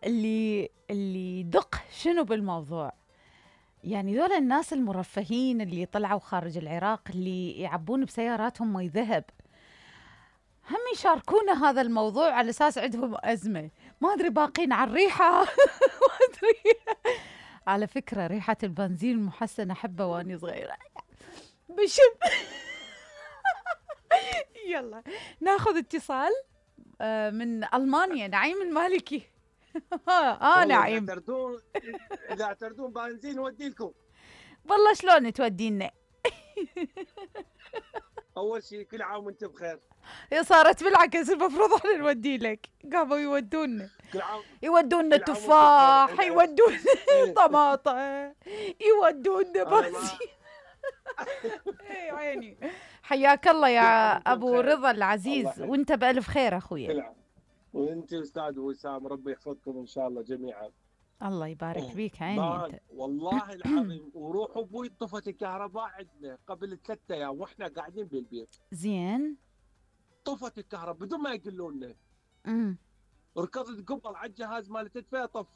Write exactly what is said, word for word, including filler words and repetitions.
اللي اللي دق شنو بالموضوع. يعني ذولا الناس المرفهين اللي طلعوا خارج العراق اللي يعبون بسياراتهم مي ذهب، هم يشاركونا هذا الموضوع على اساس عندهم ازمه. ما ادري باقين على الريحه. ما ادري. على فكره ريحه البنزين المحسن احبه واني صغيره بشم. يلا ناخذ اتصال من المانيا. نعيم المالكي. اه نعيم. اذا تعتردون اذا تعتردون بنزين نودي لكم. والله شلون تودينا؟ اول شيء كل عام وانت بخير. هي صارت بالعكس، المفروض احنا نودي لك، قاموا يودونا كل عام يودونا تفاح، يودونا طماطم، يودونا بنزين. اي عيني. حياك الله يا ابو رضا العزيز، وانت بالف خير اخويا. وانت استاذ وسام، ربي يحفظكم ان شاء الله جميعا. الله يبارك بيك. عيني انت. والله العظيم. وروح ابوي طفت الكهرباء عندنا قبل ثلاثة ايام واحنا قاعدين بالبيت. زين. طفت الكهرباء بدون ما يقولوا لنا. امم ركضت قبل على الجهاز مال التدفئه، طفيت